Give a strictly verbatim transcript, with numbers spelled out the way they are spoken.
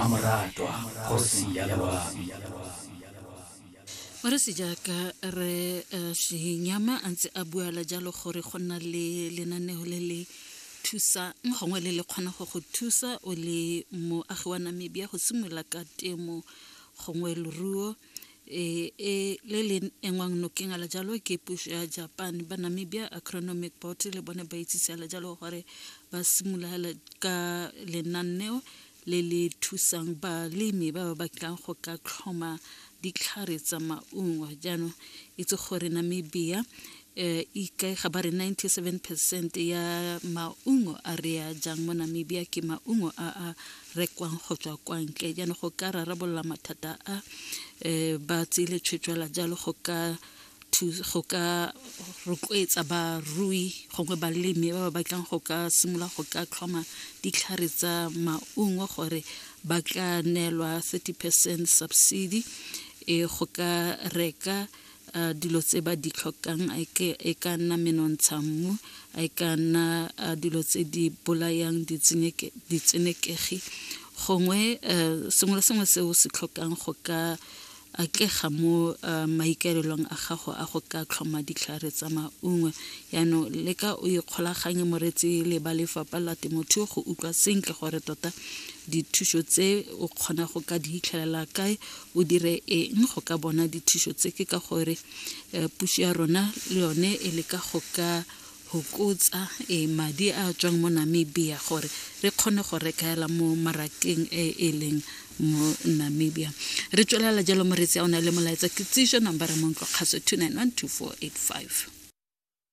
Mmamoratwa kgosi ya loabi. Moresi jaaka re eh, Shenyama a ntse a buala jalo gore go nna le lenaneo le le thusang gongwe le le kgona go go thusa o le moagi wa Namibia go simolola ka temo gongwe leruo e e le le engwang nokeng ala jalo ke puso ya Japan. Ba Namibia Agronomic Board le bone ba itsise ala jalo gore ba simolola ka lenaneo le le thusang balemi ba ba batlang go ka tlhoma ditlhare tsa maungo. Jaanong itse gore Namibia eh ikaega ba re ninety-seven percent ya maungo a re a jang mo Namibia ke maungo a a rekwang go tswa kwa ntle. Jaanong go ka rarabolola mathata a eh ba tseile tshwetso jalo go ka go ka rotloetsa barui gongwe balemi ba ba batlang go ka simolola go ka tlhoma ditlhare tsa maungo gore ba tla neelwa thirty percent subsidy e go ka reka uh, dilo tse ba di tlhokang, a e ka nna menontsha mmu, a e ka nna uh, dilo tse di bolayang ditsenekegi gongwe uh, sengwe le sengwe se o se tlhokang go ka atlega mo uh, maikaelelong a gago a go ka tlhoma ditlhare tsa maungo. Yaanong le ka o ikgolaganye moretsi le ba lefapha la temothuo go utlwa sentle gore tota dithuso tse o kgona go ka di hitlhelela kae, o dire eng go ka bona dithuso tse. Ke ka gore eh, puso ya rona le yone e leka go ka hokotsa e madi a tswang mo Namibia gore re kgone go rekaela mo marakeng e e leng mo Namibia. Re tswelela jalo moretsi a o na le molaetsa kitsiso nambara mo ntlo kgaso two nine one two four eight five.